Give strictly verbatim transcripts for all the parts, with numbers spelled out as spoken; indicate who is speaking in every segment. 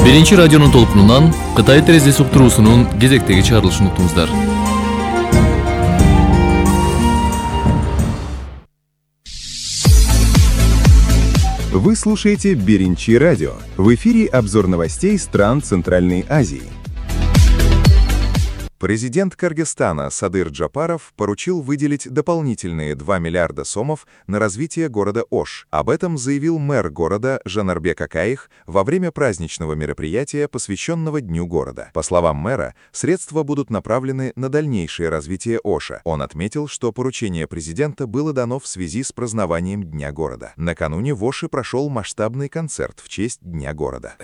Speaker 1: Биринчи радионун толкунунан Кытай терезеси уктуруусунун кезектеги чыгарылышын уктуңуздар.
Speaker 2: Вы слушаете Биринчи радио. В эфире обзор новостей стран Центральной Азии. Президент Кыргызстана Садыр Джапаров поручил выделить дополнительные два миллиарда сомов на развитие города Ош. Об этом заявил мэр города Жанарбек Акаих во время праздничного мероприятия, посвященного Дню города. По словам мэра, средства будут направлены на дальнейшее развитие Оша. Он отметил, что поручение президента было дано в связи с празднованием Дня города. Накануне в Оше прошел масштабный концерт в честь Дня города.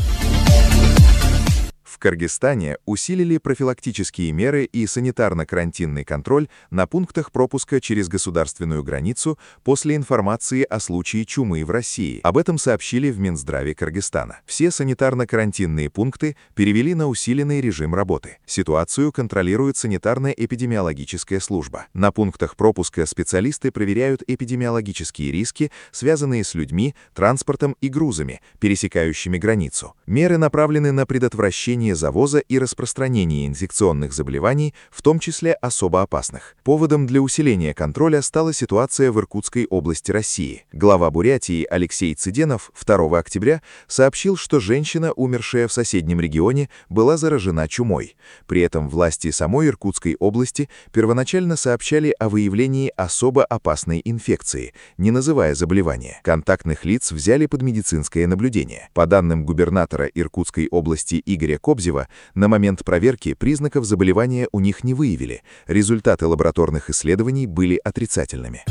Speaker 2: В Кыргызстане усилили профилактические меры и санитарно-карантинный контроль на пунктах пропуска через государственную границу после информации о случае чумы в России. Об этом сообщили в Минздраве Кыргызстана. Все санитарно-карантинные пункты перевели на усиленный режим работы. Ситуацию контролирует санитарно-эпидемиологическая служба. На пунктах пропуска специалисты проверяют эпидемиологические риски, связанные с людьми, транспортом и грузами, пересекающими границу. Меры направлены на предотвращение завоза и распространения инфекционных заболеваний, в том числе особо опасных. Поводом для усиления контроля стала ситуация в Иркутской области России. Глава Бурятии Алексей Цыденов второго октября сообщил, что женщина, умершая в соседнем регионе, была заражена чумой. При этом власти самой Иркутской области первоначально сообщали о выявлении особо опасной инфекции, не называя заболевания. Контактных лиц взяли под медицинское наблюдение. По данным губернатора Иркутской области Игоря Кобзева, на момент проверки признаков заболевания у них не выявили. Результаты лабораторных исследований были отрицательными.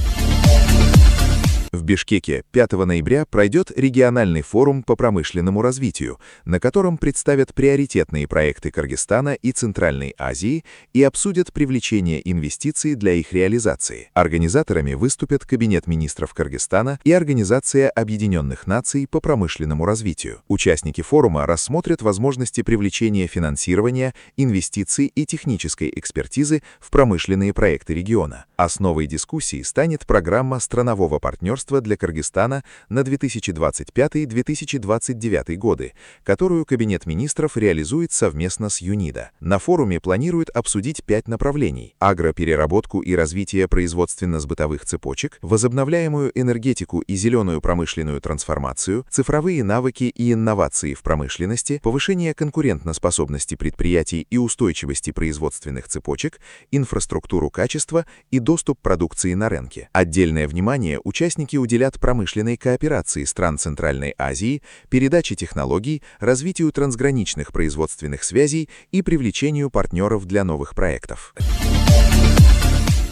Speaker 2: В Бишкеке пятого ноября пройдет региональный форум по промышленному развитию, на котором представят приоритетные проекты Кыргызстана и Центральной Азии и обсудят привлечение инвестиций для их реализации. Организаторами выступят Кабинет министров Кыргызстана и Организация Объединенных Наций по промышленному развитию. Участники форума рассмотрят возможности привлечения финансирования, инвестиций и технической экспертизы в промышленные проекты региона. Основой дискуссии станет программа странового партнерства для Кыргызстана на две тысячи двадцать пятый — две тысячи двадцать девятый годы, которую Кабинет министров реализует совместно с ЮНИДО. На форуме планируют обсудить пять направлений: агропереработку и развитие производственно-сбытовых цепочек, возобновляемую энергетику и зеленую промышленную трансформацию, цифровые навыки и инновации в промышленности, повышение конкурентоспособности предприятий и устойчивости производственных цепочек, инфраструктуру качества и доступ продукции на рынке. Отдельное внимание участники уделят промышленной кооперации стран Центральной Азии, передаче технологий, развитию трансграничных производственных связей и привлечению партнеров для новых проектов.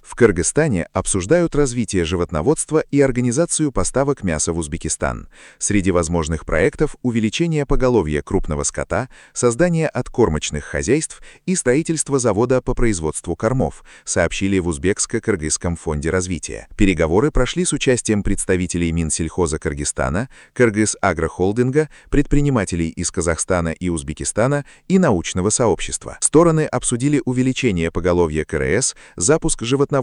Speaker 2: В Кыргызстане обсуждают развитие животноводства и организацию поставок мяса в Узбекистан. Среди возможных проектов – увеличение поголовья крупного скота, создание откормочных хозяйств и строительство завода по производству кормов, сообщили в Узбекско-Кыргызском фонде развития. Переговоры прошли с участием представителей Минсельхоза Кыргызстана, Кыргыз-Агрохолдинга, предпринимателей из Казахстана и Узбекистана и научного сообщества. Стороны обсудили увеличение поголовья КРС, запуск животноводства,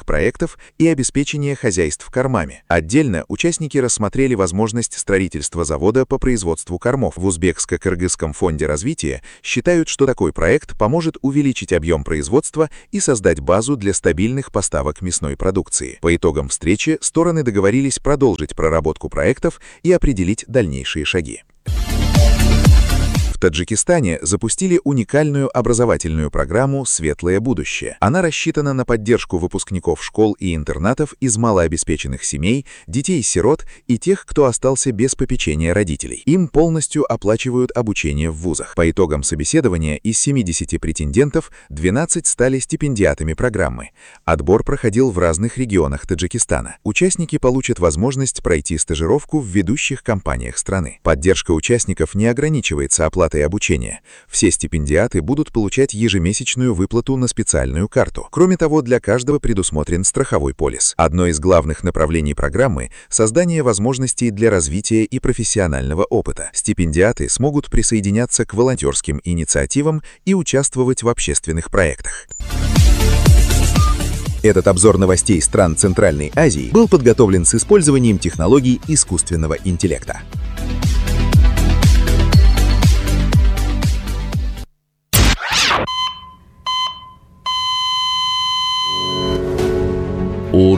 Speaker 2: проектов и обеспечение хозяйств кормами. Отдельно участники рассмотрели возможность строительства завода по производству кормов. В Узбекско-Кыргызском фонде развития считают, что такой проект поможет увеличить объем производства и создать базу для стабильных поставок мясной продукции. По итогам встречи стороны договорились продолжить проработку проектов и определить дальнейшие шаги. В Таджикистане запустили уникальную образовательную программу «Светлое будущее». Она рассчитана на поддержку выпускников школ и интернатов из малообеспеченных семей, детей-сирот и тех, кто остался без попечения родителей. Им полностью оплачивают обучение в вузах. По итогам собеседования из семидесяти претендентов двенадцать стали стипендиатами программы. Отбор проходил в разных регионах Таджикистана. Участники получат возможность пройти стажировку в ведущих компаниях страны. Поддержка участников не ограничивается оплатой обучения. Все стипендиаты будут получать ежемесячную выплату на специальную карту. Кроме того, для каждого предусмотрен страховой полис. Одно из главных направлений программы – создание возможностей для развития и профессионального опыта. Стипендиаты смогут присоединяться к волонтерским инициативам и участвовать в общественных проектах. Этот обзор новостей стран Центральной Азии был подготовлен с использованием технологий искусственного интеллекта.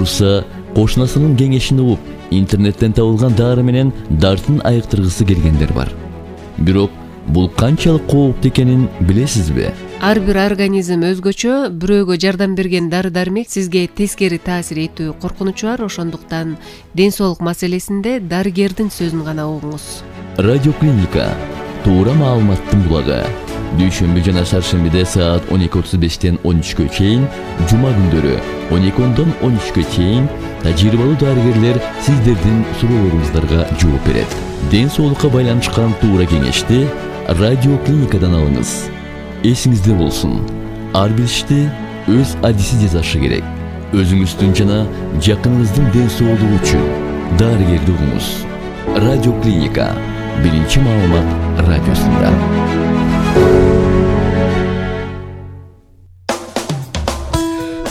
Speaker 3: Муса кошунасынын кеңешин угуп, интернеттен табылган дары менен дартын айыктыргысы келгендер бар. Бирок бул канчалык кооптуу экенин билесизби?
Speaker 4: Ар бир организм өзгөчө, бирөөгө жардам берген дары-дармек сизге тескери таасир этүү коркунучу бар, ошондуктан ден соолук маселесинде дарыгердин сөзүн гана угуңуз.
Speaker 3: Радиоклиника туура маалыматтын булагы. Дүйшөмбү жана шаршембиде саат он эки отуз бештен он үчкө чейин, жума күндөрү он эки ондон он үчкө чейин тажрыйбалуу дарыгерлер сиздердин суроолоруңуздарга жооп берет. Ден соолукка байланышкан туура кеңешти радиоклиникадан алыңыз. Эсиңизде болсун, ар бир ишти өз адиси жасашы керек. Өзүңүздүн жана жакыныңыздын ден соолугу үчүн дарыгерди угуңуз. Радиоклиника биринчи маалымат радиосунда.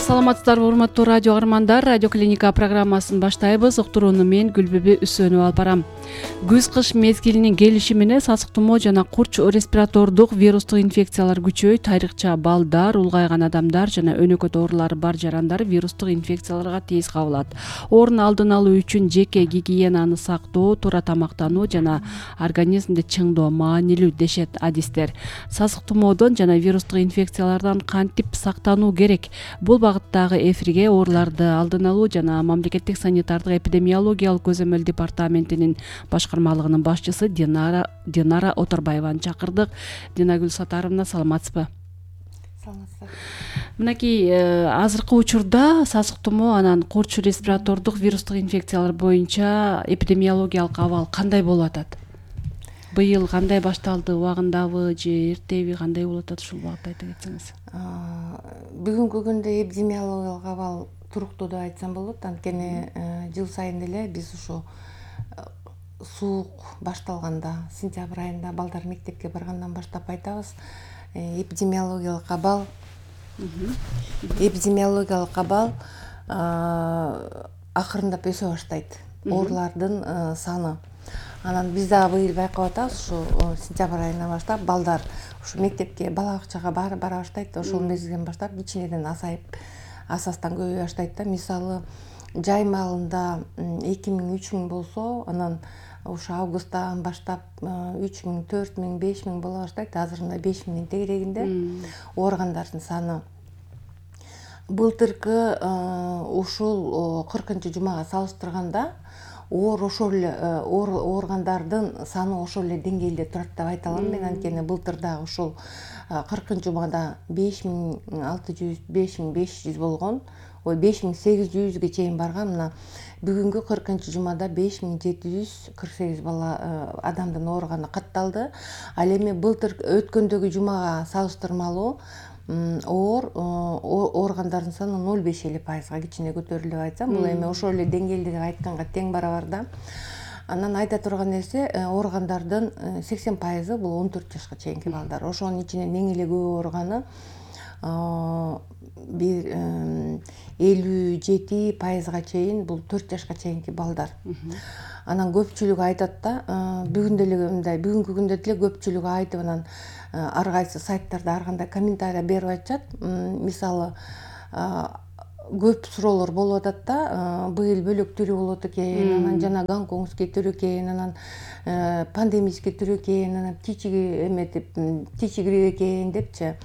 Speaker 5: Саламатсыздарбы, урматтуу радио каармандар. Радиоклиника программасын баштайбыз. Уктурууну мен Гүлбүбү Үсөнүп алып барам. Күз-кыш мезгилинин келиши менен сасык тумоо жана курч респиратордук вирустук инфекциялар күчөйт. Айрыкча балдар, улгайган адамдар жана өнөкөт оорулары бар жарандар вирустук инфекцияларга тез кабылат. Оорун алдын алуу үчүн жеке гигиенаны сактоо, туура тамактануу жана организмди чыңдоо маанилүү дешет адистер. Сасык тумоодон жана вирустук инфекциялардан кантип сактануу керек? Бул багыттагы эфирге ооруларды алдын алуу жана мамлекеттик санитардык эпидемиологиялык көзөмөл департаментинин башкармалыгынын башчысы Динара Динара Оторбаеваны чакырдык. Динагүл Сатаровна, саламатсызбы?
Speaker 6: Саламатсыздар.
Speaker 5: Мынакей азыркы учурда сасык тумоо анан курч респиратордук вирустук инфекциялар боюнча эпидемиологиялык абал кандай болуп атат? Быйыл кандай башталды, убагындабы же эртеби, кандай болуп атат, ушул багытта айта кетсеңиз?
Speaker 6: Бүгүнкү күндө эпидемиологиялык абал туруктуу деп айтсам болот. Анткени жыл сайын эле биз ушу суук башталганда, сентябрь айында балдар мектепке баргандан баштап айтабыз, эпидемиологиялык абал эпидемиологиялык абал акырындап өсө баштайт. Оорулардын саны. Анан биз дагы быйыл байкап атабыз, ушу сентябрь айынан баштап балдар ушу мектепке, бала бакчага бара баштайт. Ошол мезгилден баштап кичинеден азайып, асастан көбөйө баштайт да. Мисалы, жай маалында эки миң үч миң болсо, анан ушу августтан баштап үч миң, төрт миң, беш миң боло баштайт. Азыр мына беш миңдин тегерегинде ооругандардын саны. Былтыркы ушул кыркынчы жумага салыштырганда оор ошол эле ооругандардын саны ошол эле деңгээлде турат деп айта алам мен. Анткени былтыр дагы ушул кыркынчы жумада беш миң алты жүз, беш миң беш жүз болгон, ой беш миң сегиз жүзгө чейин барган. Мына бүгүнкү кыркынчы жумада беш миң жети жүз кырк сегиз бала адамдын ооруганы катталды. Ал эми былтыр өткөндөгү жумага салыштырмалуу оор ооругандардын саны ноль беш эле пайызга кичине көтөрүлдү деп айтсам, бул эми ошол эле деңгээлде айтканга тең барабар да. Анан айта турган нерсе, ооругандардын сексен пайызы бул он төрт жашка чейинки балдар. Ошонун ичинен эң эле көп ооруганы бир элүү жети пайызга чейин бул төрт жашка чейинки балдар. Анан көпчүлүгү айтат да, бүгүн деле мындай, бүгүнкү күндө деле көпчүлүгү айтып, анан ар кайсы сайттарда ар кандай комментарий берип атышат. Мисалы, көп суроолор болуп атат да, быйыл бөлөк түрү болот экен, анан жана гонконгский түрү экен, анан пандемический түрү экен, анан птичий эметип, птичий грипп экен депчи.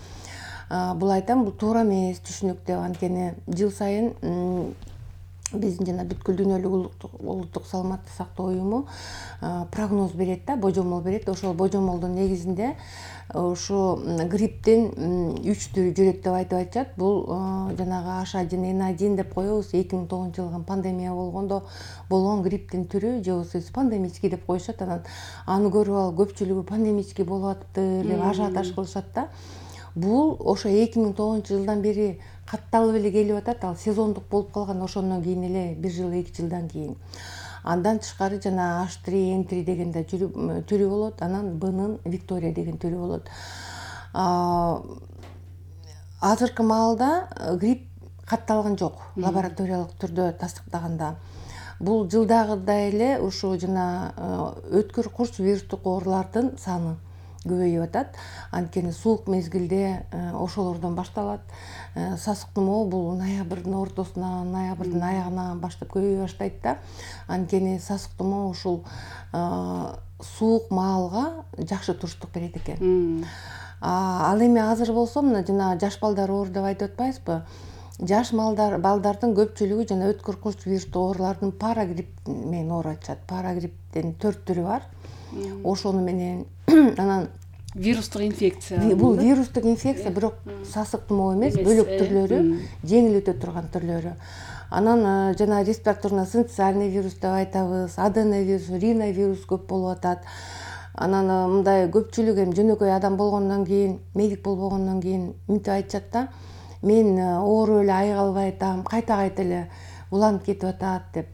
Speaker 6: Бул айтам, бул туура эмес, түшүнүктүү. Анткени жыл сайын биздин жана бүткүл дүйнөлүк улуттук саламаттык сактоо уюму прогноз берет да, божомол берет. Ошол божомолдун негизинде ушу грипптин үч түрү жүрөт деп айтып атышат. Бул жанагы H один N один деп коебуз. эки миң тогузунчу жылгы пандемия болгондо болгон грипптин түрү, же болбосо пандемический деп коюшат. Анан аны көрүп алып көпчүлүгү пандемический болуп атыптыр деп ажиотаж кылышат да. Бул ошо эки миң тогузунчу жылдан бери катталып эле келип атат. Ал сезондук болуп калган, ошондон кийин эле бир жыл, эки жылдан кийин. Андан тышкары жана H три N три деген да түрү болот. Анан Бнын Виктория деген түрү болот. Азыркы маалда грипп катталган жок, лабораториялык түрдө тастыктаганда. Бул жылдагыдай эле ушу жана өткүр курч вирустук оорулардын саны көбөйүп атат. Анткени суук мезгилде ошолордон башталат. Сасык тумоо бул ноябрдын ортосунан, ноябрдын аягынан баштап көбөйө баштайт да. Анткени сасык тумоо ушул суук маалга жакшы туруштук берет экен. Ал эми азыр болсо мына жана жаш балдар оор деп айтып атпайбызбы? Жаш балдардын көпчүлүгү жана өткөр курч вирустук оорулардын парагрипп менен ооруп атышат. Парагрипптин төрт түрү бар. Ошону менен анан
Speaker 5: вирустук инфекция.
Speaker 6: Бул вирустук инфекция, бирок сасык тумоо эмес, бөлөк түрлөрү, жеңил өтө турган түрлөрү. Анан жана респираторно-синциальный вирус деп айтабыз, аденовирус, риновирус көп болуп атат. Анан мындай көпчүлүк эми жөнөкөй адам болгондон кийин, медик болбогондон кийин мынтип айтышат да, мен ооруп эле айыга атам, кайта-кайта эле уланып кетип атат деп.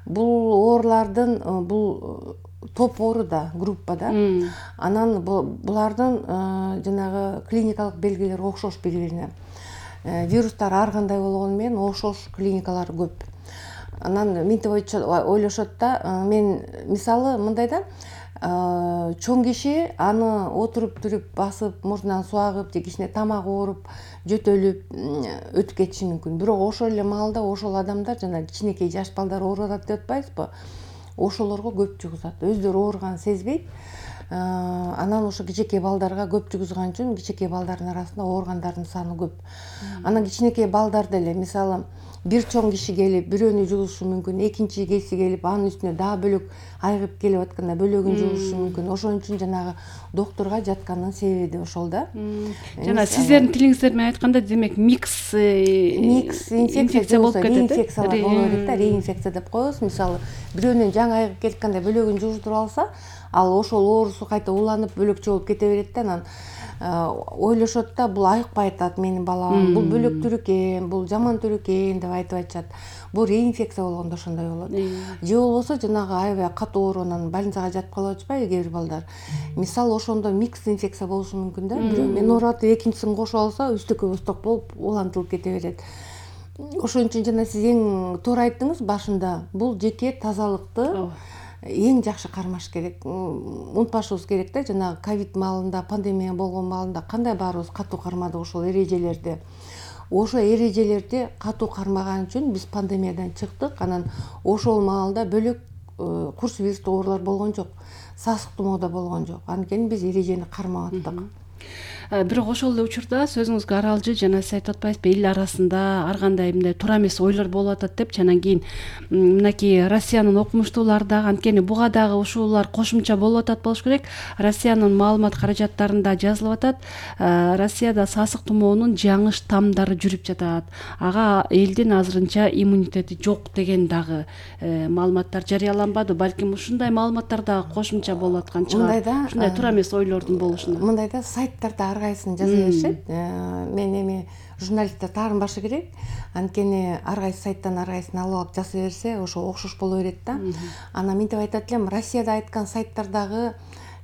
Speaker 6: Бул оорулардын бул топ оору да, группа да. Анан булардын жанагы клиникалык белгилери окшош бири-бирине. Вирустар ар кандай болгону менен окшош клиникалары көп. Анан мынтип ойлошот да, мен мисалы мындай да, чоң киши аны отуруп туруп басып, мурдунан суу агып же кичине тамак ооруп, жөтөлүп өтүп кетиши мүмкүн. Бирок ошол эле маалда ошол адамдар жана кичинекей жаш балдар ооруп атат деп атпайбызбы? Ошолорго көп жугузат. Өздөрү ооруган сезбейт. Анан ошо кичинекей балдарга көп жугузган үчүн кичинекей балдардын арасында ооругандардын саны көп. Анан кичинекей балдар деле мисалы бир чоң киши келип бирөөнү жугузушу мүмкүн, экинчи кеси келип анын үстүнө дагы бөлөк айыгып келип атканда бөлөгүн жугузушу мүмкүн. Ошон үчүн жанагы доктурга жаткандын себеби да ошол да.
Speaker 5: Жана сиздердин тилиңиздер менен айтканда, демек микс
Speaker 6: микс инфекция болуп кетет. Реинфекциялар боло берет да, реинфекция деп коебуз. Мисалы бирөөнүн жаңы айыгып келатканда бөлөгүн жугуздуруп алса, ал ошол оорусу кайта уланып бөлөкчө болуп кете берет да. Анан ойлошот да, бул айыкпай атат менин балам, бул бөлөк түр экен, бул жаман түр экен деп айтып атышат. Бул реинфекция болгондо ошондой болот. Же болбосо жанагы аябай катуу ооруунан больницага жатып калып атышпайбы кээ бир балдар. Мисалы ошондо микс инфекция болушу мүмкүн да. Бирөө мен ооруп атып экинчисин кошуп алса, үстөккө босток болуп улантылып кете берет. Ошон үчүн жана сиз эң туура айттыңыз башында, бул жеке тазалыкты эң жакшы кармаш керек. Унутпашыбыз керек да, жанагы ковид маалында, пандемия болгон маалында кандай баарыбыз катуу кармадык ошол эрежелерди. Ошо эрежелерди катуу кармаган үчүн биз пандемиядан чыктык. Анан ошол маалда бөлөк курс вирустук оорулар болгон жок. Сасык тумоо да болгон жок. Анткени биз эрежени кармап аттык.
Speaker 5: Бирок ошол эле учурда сөзүңүзгө аралжы жана сиз айтып атпайсызбы, эл арасында ар кандай мындай туура эмес ойлор болуп атат депчи. Анан кийин мынакей Россиянын окумуштуулары дагы, анткени буга дагы ушулар кошумча болуп атат болуш керек. Россиянын маалымат каражаттарында жазылып атат, Россияда сасык тумоонун жаңы штамдары жүрүп жатат. Ага элдин азырынча иммунитети жок деген дагы маалыматтар жарыяланбады. Балким ушундай маалыматтар дагы кошумча болуп аткан чыгар. Ушундай туура эмес ойлордун болушуна.
Speaker 6: Мындай да, сайттарда ар кайсын жаза беришет. Мен эми журналисттер таарынбашы керек. Анткени ар кайсы сайттан ар кайсын алып алып жаза берсе, ошо окшош боло берет да. Анан мынтип айтат элем, Россияда айткан сайттардагы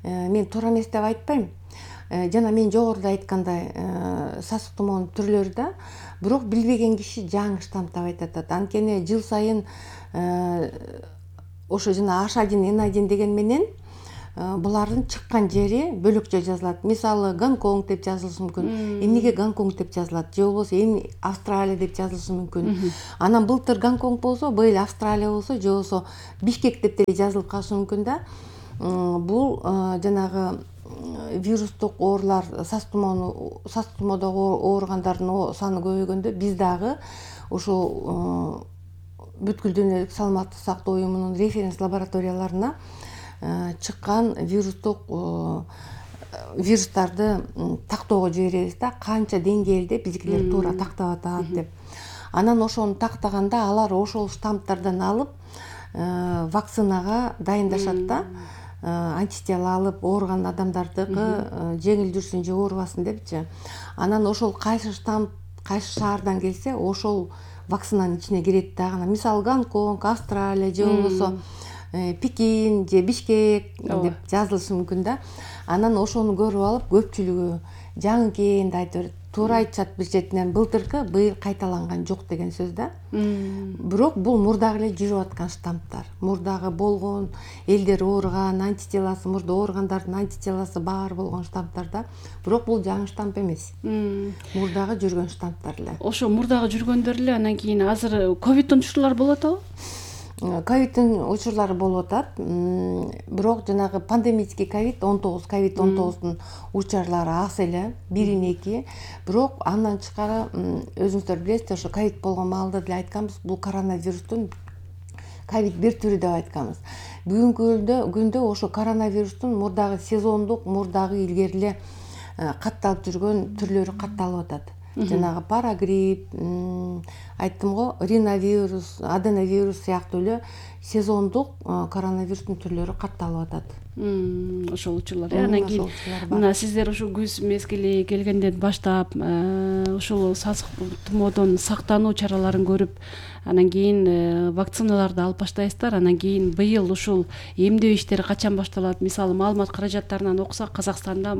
Speaker 6: мен туура эмес деп айтпайм. Жана мен жогоруда айткандай сасык тумоонун түрлөрү да, бирок билбеген киши жаңы штамм деп айтат. Анткени жыл сайын ошо жана H один N один деген менен булардын чыккан жери бөлөкчө жазылат. Мисалы Гонконг деп жазылышы мүмкүн. Эмнеге Гонконг деп жазылат? Же болбосо эми Австралия деп жазылышы мүмкүн. Анан былтыр Гонконг болсо, быйыл Австралия болсо, же болбосо Бишкек деп деле жазылып калышы мүмкүн да. Бул жанагы вирустук оорулар, сасык тумоону, сасык тумоодогу ооругандардын саны көбөйгөндө биз дагы ошол бүткүл дүйнөлүк саламаттык сактоо уюмунун референс лабораторияларына чыккан вирустук вирустарды тактоого жиберебиз да, канча деңгээлде биздикилер туура тактап атат деп. Анан ошону тактаганда алар ошол штаммдардан алып вакцинага дайындашат да, антитела алып ооруган адамдардыкы жеңил жүрсүн же оорубасын депчи. Анан ошол кайсы штамм кайсы шаардан келсе, ошол вакцинанын ичине кирет дагы. Мисалы Гонконг, Австралия же болбосо Пекин же Бишкек деп жазылышы мүмкүн да. Анан ошону көрүп алып көпчүлүгү жаңы экен деп айтып берет. Туура айтышат бир четинен, былтыркы быйыл кайталанган жок деген сөз да. Бирок бул мурдагы эле жүрүп аткан штамптар. Мурдагы болгон элдер ооруган, антителасы, мурда ооругандардын антителасы бар болгон штамптар да. Бирок бул жаңы штамп эмес. Мурдагы жүргөн штамптар эле.
Speaker 5: Ошо мурдагы жүргөндөр эле анан кийин азыр ковидтин учурлары болуп атабы?
Speaker 6: Ковидтин учурлары болуп атат. Бирок жанагы пандемический ковид он тогуз, ковид он тогуздун учурлары аз эле, бир эки. Бирок андан тышкары өзүңүздөр билесиздер, ошо ковид болгон маалда деле айтканбыз, бул коронавирустун ковид бир түрү деп айтканбыз. Бүгүнкү күндө ошо коронавирустун мурдагы сезондук, мурдагы илгери эле катталып жүргөн түрлөрү катталып атат. Жанагы парагрипп, айттым го, риновирус, аденовирус сыяктуу эле сезондук коронавирустун түрлөрү катталып атат.
Speaker 5: Ошол учурлар. Анан кийин мына сиздер ушу күз мезгили келгенден баштап ушул сасык тумоодон сактануу чараларын көрүп, анан кийин вакциналарды алып баштайсыздар. Анан кийин быйыл ушул эмдөө иштери качан башталат? Мисалы, маалымат каражаттарынан окусак, Казакстанда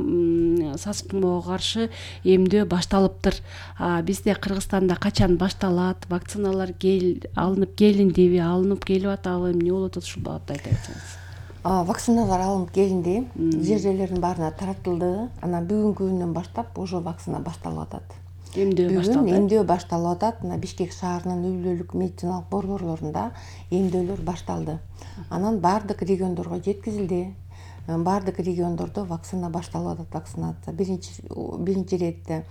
Speaker 5: сасык тумоого каршы эмдөө башталыптыр. А бизде Кыргызстанда качан башталат? Вакциналар кел алынып келиндиби, алынып келип атабы, эмне болуп атат, ушул багытта айта кетсеңиз.
Speaker 6: Вакциналар алынып келинди, жер жерлердин баарына таратылды. Анан бүгүнкү күндөн баштап ошо вакцина башталып атат.
Speaker 5: Эмдөө башталды.
Speaker 6: Бүгүн эмдөө башталып атат. Мына Бишкек шаарынын үй-бүлөлүк медициналык борборлорунда эмдөөлөр башталды. Анан баардык региондорго жеткизилди. Баардык региондордо вакцина башталып атат, вакцинация. Биринчи биринчи иретте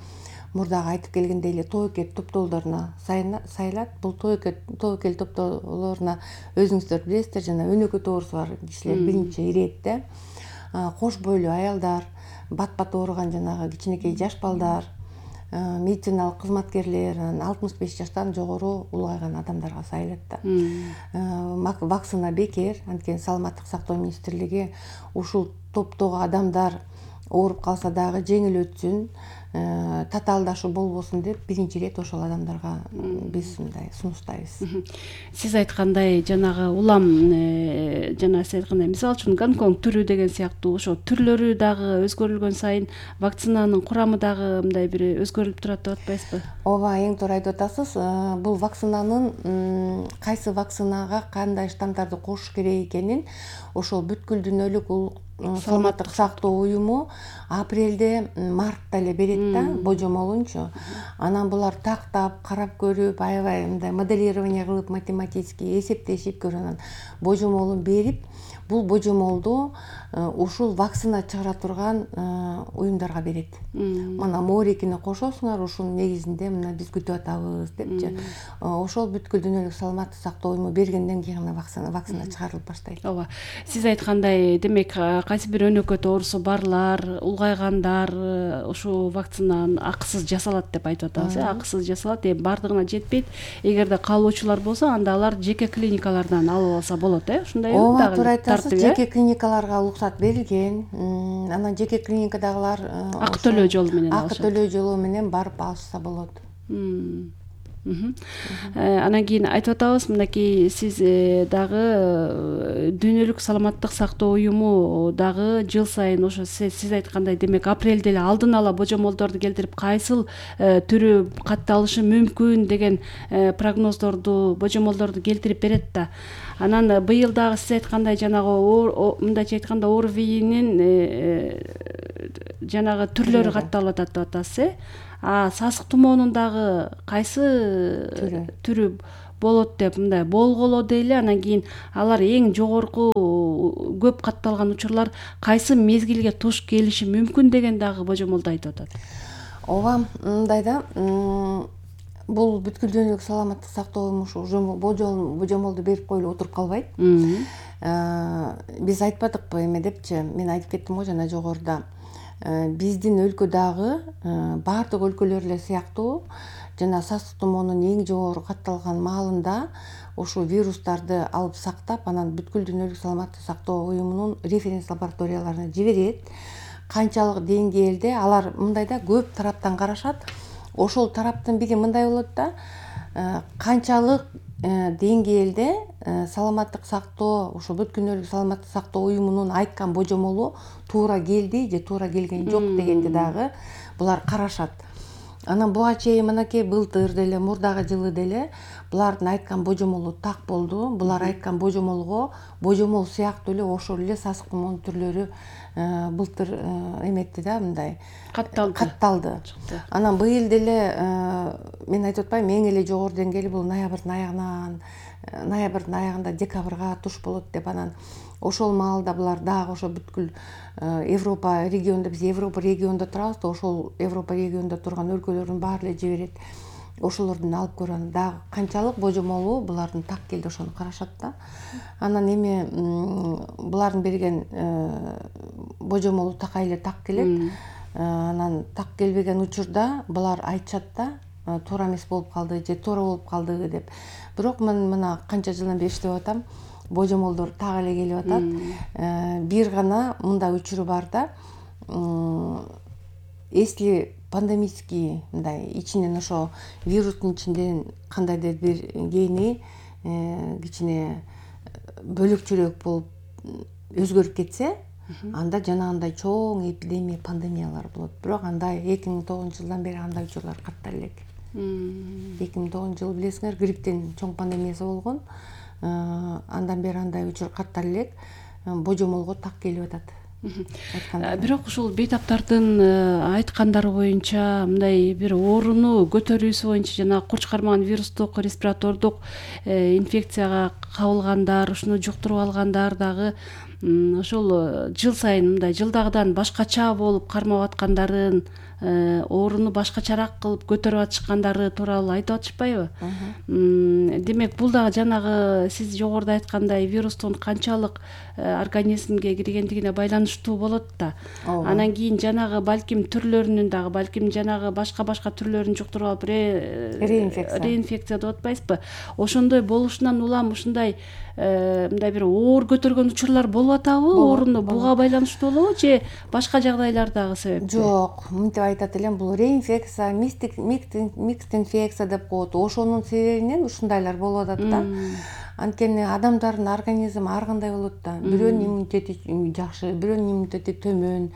Speaker 6: мурдагы айтып келгендей эле тобокел топтоолоруна сайлат. Бул тобокел топтоолоруна өзүңүздөр билесиздер, жана өнөкөт оорусу бар кишилер биринчи иретте, кош бойлуу аялдар, бат-бат ооруган жанагы кичинекей жаш балдар, медициналык кызматкерлер, алтымыш беш жаштан жогору улгайган адамдарга сайлат да. Вакцина бекер, анткени Саламаттык сактоо министрлиги ушул топтогу адамдар ооруп калса дагы жеңил өтсүн, татаалдашуу болбосун деп биринчи ирет ошол адамдарга биз мындай сунуштайбыз.
Speaker 5: Сиз айткандай жанагы улам жана сиз айткандай мисалы үчүн Гонконг түрү деген сыяктуу ошо түрлөрү дагы өзгөрүлгөн сайын вакцинанын курамы дагы мындай бир өзгөрүлүп турат деп атпайсызбы?
Speaker 6: Ооба, эң туура айтып атасыз. Бул вакцинанын кайсы вакцинага кандай штаммдарды кошуш керек экенин ошол бүткүл дүйнөлүк саламаттык сактоо уюму апрелде, мартта эле берет да, божомолунчу. Анан булар тактап, карап көрүп, аябай мындай моделирование кылып, математический эсептешип көрүп, анан божомолун берип, бул божомолду ушул вакцина чыгара турган уюмдарга берет. Мына Морикини кошосуңар, ушунун негизинде мына биз күтүп атабыз депчи. Ошол бүткүл дүйнөлүк саламаттык сактоо уюму бергенден кийин гана вакцина вакцина чыгарылып баштайт.
Speaker 5: Ооба. Сиз айткандай, демек кайсы бир өнөкөт оорусу барлар, улгайгандар ушул вакцинаны акысыз жасалат деп айтып атабыз. Акысыз жасалат, эми бардыгына жетпейт. Эгерде каалоочулар болсо, анда алар жеке клиникалардан алып алса болот, э? Ушундайбы?
Speaker 6: Ооба, туура айтасыз. Жеке клиникаларга уруксат берилген. Анан жеке клиникадагылар
Speaker 5: акы төлөө жолу менен
Speaker 6: алышат. Акы төлөө жолу менен барып алышса болот.
Speaker 5: Анан кийин айтып атабыз, мынакей сиз дагы дүйнөлүк саламаттык сактоо уюму дагы жыл сайын ошо сиз айткандай, демек апрелде эле алдын ала божомолдорду келтирип, кайсыл түрү катталышы мүмкүн деген прогноздорду, божомолдорду келтирип берет да. Анан быйыл дагы сиз айткандай жанагы мындайча айтканда ОРВИнин жанагы түрлөрү катталып атат деп атасыз, э? А сасык тумоонун дагы кайсы түрү болот деп мындай болголо дейли. Анан кийин алар эң жогорку көп катталган учурлар кайсы мезгилге туш келиши мүмкүн деген дагы божомолду айтып атат.
Speaker 6: Ооба, мындай да, бул бүткүл дүйнөлүк саламаттык сактоо уюму божомолду берип коюлуп отуруп калбайт. Биз айтпадыкпы эме депчи, мен айтып кеттим го жана жогоруда. Биздин өлкө дагы баардык өлкөлөр эле сыяктуу жана сасык тумоонун эң жогору катталган маалында ушул вирустарды алып сактап, анан бүткүл дүйнөлүк саламаттык сактоо уюмунун референс лабораторияларына жиберет. Канчалык деңгээлде алар мындай да көп тараптан карашат. Ошол тараптын бири мындай болот да, канчалык деңгээлде саламаттык сактоо ошо бүткүл дүйнөлүк саламаттык сактоо уюмунун айткан божомолу туура келди же туура келген жок дегенди дагы булар карашат. Анан буга чейин мынакей былтыр деле мурдагы жылы деле булардын айткан божомолу так болду. Булар айткан божомолго божомол сыяктуу эле ошол эле сасык тумоонун түрлөрү былтыр эметти да, мындай
Speaker 5: катталды.
Speaker 6: Катталды. Анан быйыл деле мен айтып атпайм, эң эле жогору деңгээли бул ноябрдын аягынан, ноябрдын аягында декабрга туш болот деп, анан ошол маалда булар дагы ошо бүткүл Европа регионунда, биз Европа регионунда турабыз да, ошол Европа регионунда турган өлкөлөрдүн баары эле жиберет. Ошолордун алып көрөм дагы канчалык божомолу булардын так келди, ошону карашат да. Анан эми булардын берген божомолу такай эле так келет. Анан так келбеген учурда булар айтышат да, туура эмес болуп калды же туура болуп калды деп. Бирок мен мына канча жылдан бери иштеп атам, божомолдор так эле келип атат. Бир гана мындай учуру бар да, если пандемический мындай ичинен ошо вирустун ичинен кандайдыр бир гени кичине бөлөкчүрөөк болуп өзгөрүп кетсе, анда жанагындай чоң эпидемия, пандемиялар болот. Бирок андай эки миң тогузунчу жылдан бери андай учурлар каттала элек. эки миң тогузунчу жылы билесиңер, грипптин чоң пандемиясы болгон. Андан бери андай учур каттала элек. Божомолго так келип атат.
Speaker 5: Бирок ушул бейтаптардын айткандары боюнча мындай бир ооруну көтөрүүсү боюнча жана курч кармаган вирустук респиратордук инфекцияга кабылгандар, ушуну жуктуруп алгандар дагы ошол жыл сайын мындай жылдагыдан башкача болуп кармап аткандарын, ооруну башкачараак кылып көтөрүп атышкандары тууралуу айтып атышпайбы? Демек бул дагы жанагы сиз жогоруда айткандай вирустун канчалык организмге киргендигине байланыштуу болот да. Анан кийин жанагы балким түрлөрүнүн дагы, балким жанагы башка-башка түрлөрүн жуктуруп алып реинфекция реинфекция деп атпайсызбы? Ошондой болушунан улам ушундай мындай бир оор көтөргөн учурлар болуп атабы? Ооруну буга байланыштуу болобу же башка жагдайлар дагы себепчи?
Speaker 6: Жок, мынтип айтат элем, бул реинфекция, микс инфекция деп коет. Ошонун себебинен ушундайлар болуп атат да. Анткени адамдардын организми ар кандай болот да. Бирөөнүн иммунитети жакшы, бирөөнүн иммунитети төмөн,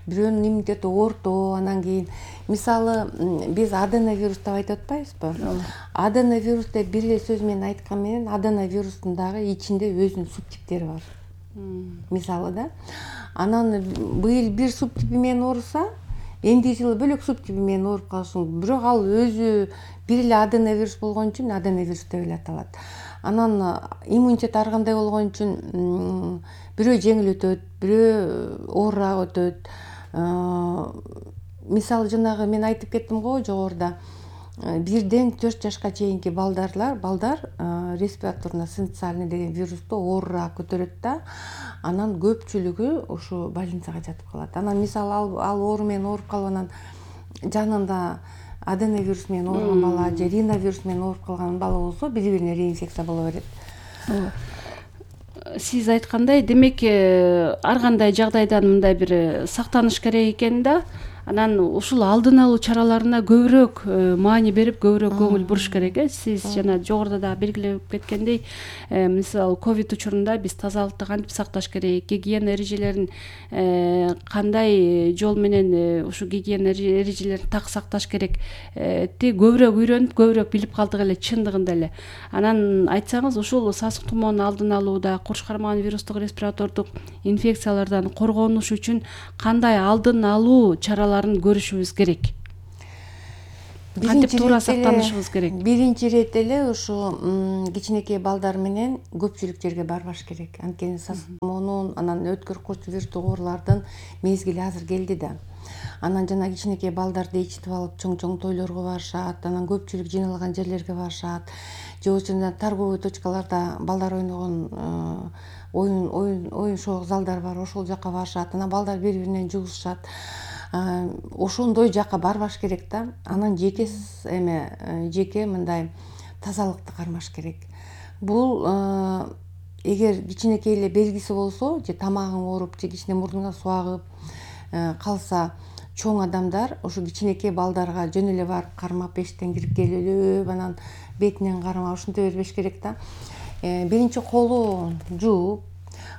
Speaker 6: бирөөнүн иммунитети орто. Анан кийин мисалы биз аденовирус деп айтып атпайбызбы? Аденовирус деп бир эле сөз менен айткан менен аденовирустун дагы ичинде өзүнүн субтиптери бар. Мисалы да. Анан быйыл бир субтипи менен ооруса, энди жылы бөлөк субтипи менен ооруп калышы мүмкүн. Бирок ал өзү бир эле аденовирус болгон үчүн аденовирус деп эле аталат. Анан иммунитет ар кандай болгон үчүн бирөө жеңил өтөт, бирөө оорураак өтөт. Мисалы жанагы мен айтып кеттим го жогоруда, бирден төрт жашка чейинки балдарлар, балдар респираторно-синциальный деген вирусту оорураак көтөрөт да. Анан көпчүлүгү ушу больницага жатып калат. Анан мисалы ал, ал оору менен ооруп калып анан жанында аденовирус менен ооруган бала же риновирус менен ооруп калган бала болсо, бири-бирине реинфекция боло берет.
Speaker 5: Сиз айткандай, демек ар кандай жагдайдан мындай бир сактаныш керек экен да. Анан ушул алдын алуу чараларына көбүрөөк маани берип, көбүрөөк көңүл буруш керек э. Сиз жана жогоруда да белгилеп кеткендей, мисалы ковид учурунда биз тазалыкты кантип сакташ керек, гигиена эрежелерин кандай жол менен ушу гигиена эрежелерин так сакташ керек ти көбүрөөк үйрөнүп, көбүрөөк билип калдык эле чындыгында эле. Анан айтсаңыз, ушул сасык тумоонун алдын алууда, курч кармаган вирустук респиратордук инфекциялардан коргонуш үчүн кандай алдын алуу чаралары көрүшүбүз керек? Кантип туура сактанышыбыз керек?
Speaker 6: Биринчи ирет эле ушу кичинекей балдар менен көпчүлүк жерге барбаш керек. Анткени сасык тумоонун, анан өткөр курч вирустук оорулардын мезгили азыр келди да. Анан жана кичинекей балдарды ичитип алып чоң-чоң тойлорго барышат, анан көпчүлүк жыйналган жерлерге барышат. Же болбосо торговый точкаларда балдар ойногон оюн оюн оюн шоу залдар бар, ошол жака барышат. Анан балдар бири-биринен жугушушат. Ошондой жака барбаш керек да. Анан жеке эме жеке мындай тазалыкты кармаш керек. Бул эгер кичинекей эле белгиси болсо, же тамагың ооруп, же кичине мурдуңан суу агып калса, чоң адамдар ушу кичинекей балдарга жөн эле барып кармап эшиктен кирип келүп анан бетинен кармап ушинте бербеш керек да. Биринчи колун жууп,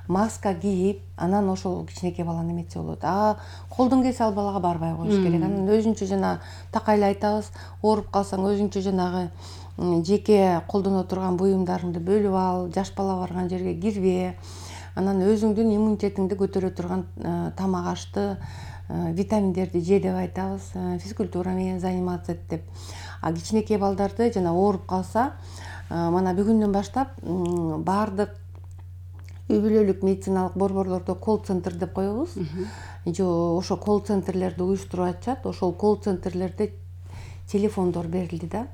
Speaker 6: маска кийип, анан ошол кичинекей баланы эметсе болот. А колдон келсе ал балага барбай коюш керек. Анан өзүнчө жана такайлай айтабыз, ооруп калсаң өзүнчө жанагы жеке колдоно турган буюмдарыңды бөлүп ал, жаш бала барган жерге кирбе. Анан өзүңдүн иммунитетиңди көтөрө турган тамак ашты, витаминдерди же деп айтабыз, физкультура менен заниматься эт деп. А кичинекей балдарды жана ооруп калса, мана бүгүндөн баштап баардык үй бүлөлүк медициналык борборлордо колл-центр деп коебуз. Же ошо колл-центрлерди уюштуруп атышат. Ошол колл-центрлерде телефондор берилди да.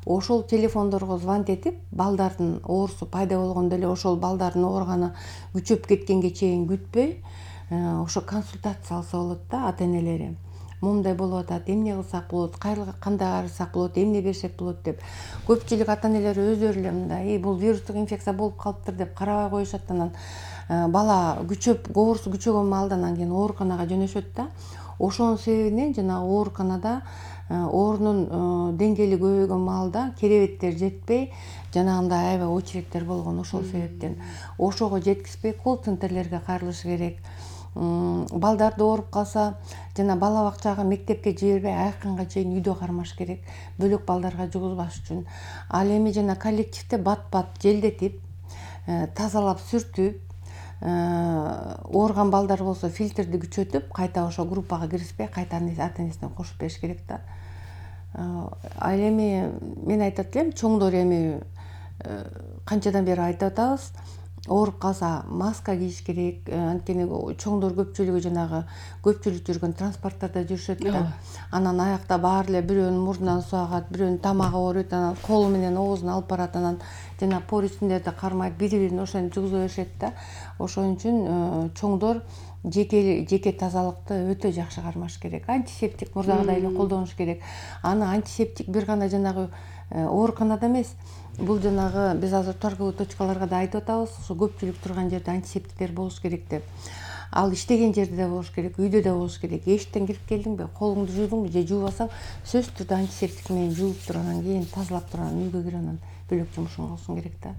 Speaker 6: Ошол телефондорго звонить этип, балдардын оорусу пайда болгондо эле ошол балдардын ооруганы күчөп кеткенге чейин күтпөй, ошо консультация алса болот да ата-энелери. Момундай болуп атат, эмне кылсак болот, кандай карасак болот, эмне берсек болот деп. Көпчүлүк ата-энелер өздөрү эле мындай, бул вирустук инфекция болуп калыптыр деп карабай коюшат. Анан бала күчөп, оорусу күчөгөн маалда анан кийин ооруканага жөнөшөт да. Ошонун себебинен жана ооруканада оорунун деңгээли көбөйгөн маалда керебеттер жетпей, жанагындай аябай очередтер болгон. Ошол себептен ошого жеткизбей колл-центрлерге кайрылыш керек. Балдарды ооруп калса, жана бала бакчага, мектепке жибербей айкынга чейин үйдө кармаш керек, бөлөк балдарга жугузбаш үчүн. Ал эми жана коллективде бат-бат желдетип, тазалап сүртүп, ооруган балдар болсо фильтрди күчөтүп, кайта ошо группага киргизбей, кайта ата-энесине кошуп бериш керек да. Ал эми мен айтат элем, чоңдор эми канчадан бери айтып атабыз, ооруп калса маска кийиш керек. Анткени чоңдор көпчүлүгү жанагы көпчүлүк жүргөн транспорттарда жүрүшөт да. Анан аякта баары эле бирөөнүн мурдунан суу агат, бирөөнүн тамагы ооруйт, анан колу менен оозуна алып барат, анан жана поручнийлерди кармайт, бири-бирин ошентип жугуза беришет да. Ошон үчүн чоңдор жеке жеке тазалыкты өтө жакшы кармаш керек. Антисептик мурдагыдай эле колдонуш керек. Аны антисептик бир гана жанагы ооруканада эмес, бул жанагы биз азыр торговый точкаларга да айтып атабыз, ошо көпчүлүк турган жерде антисептиктер болуш керек деп. Ал иштеген жерде да болуш керек, үйдө да болуш керек. Эшиктен кирип келдиңби, колуңду жуудуңбу же жуубасаң, сөзсүз түрдө антисептик менен жууп туруп, анан кийин тазалап туруп, анан үйгө кирип, анан бөлөк жумушуң кылышың керек да.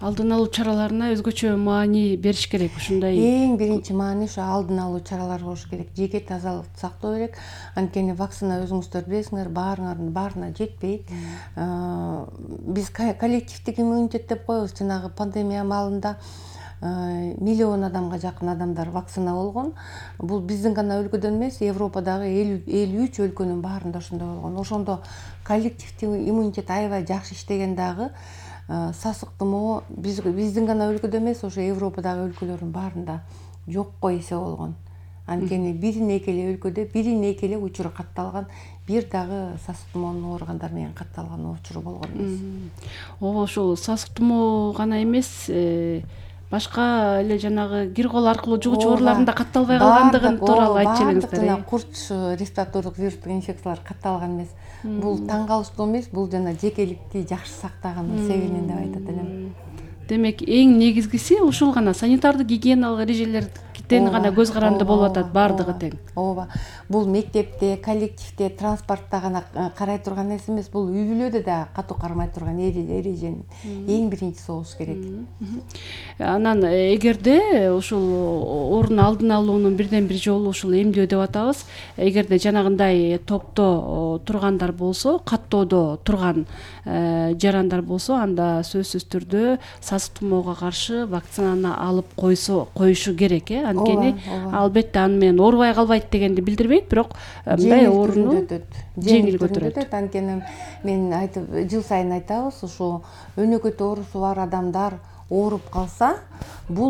Speaker 5: Алдын алуу чараларына өзгөчө маани бериш керек ушундай.
Speaker 6: Эң биринчи маани ошо алдын алуу чаралары болуш керек. Жеке тазалыкты сактоо керек. Анткени вакцина өзүңүздөр билесиңер, баарыңардын баарына жетпейт. Биз коллективдик иммунитет деп коебуз. Жанагы пандемия маалында миллион адамга жакын адамдар вакцина болгон. Бул биздин гана өлкөдөн эмес, Европадагы элүү үч өлкөнүн баарында ошондой болгон. Ошондо коллективдик иммунитет аябай жакшы иштеген дагы сасык тумоо биздин гана өлкөдө эмес, ошо Европадагы өлкөлөрдүн баарында жокко эсе болгон. Анткени бирине эки эле өлкөдө бирине эки эле учуру катталган, бир дагы сасык тумоонун ооругандар менен катталган учуру болгон эмес.
Speaker 5: Ооба, ошол сасык тумоо гана эмес, башка эле жанагы кир кол аркылуу жугуучу оорулардын да катталбай калгандыгын тууралуу айтып элеңиздер.
Speaker 6: Курч респиратордук вирустук инфекциялар катталган эмес. Бул таң калыштуу эмес, бул жана жекеликти жакшы сактаганын себебинен деп айтат элем.
Speaker 5: Демек, эң негизгиси ушул гана санитардык гигиеналык эрежелерден гана көз каранды болуп атат баардыгы тең.
Speaker 6: Ооба. Бул мектепте, коллективде, транспортто гана карай турган нерсе эмес, бул үй бүлөдө да катуу кармай турган эреженин эң биринчиси болуш керек.
Speaker 5: Анан эгерде ушул оорунун алдын алуунун бирден бир жолу ушул эмдөө деп атабыз, эгерде жанагындай топто тургандар болсо, каттоодо турган жарандар болсо, анда сөзсүз түрдө сасык тумоого каршы вакцинаны алып койсо коюшу керек, э? Анткени албетте аны менен оорубай калбайт дегенди билдирбейт, бирок мындай ооруну жеңил көтөрөт.
Speaker 6: Анткени мен айтып, жыл сайын айтабыз, ушу өнөкөт оорусу бар адамдар ооруп калса, бул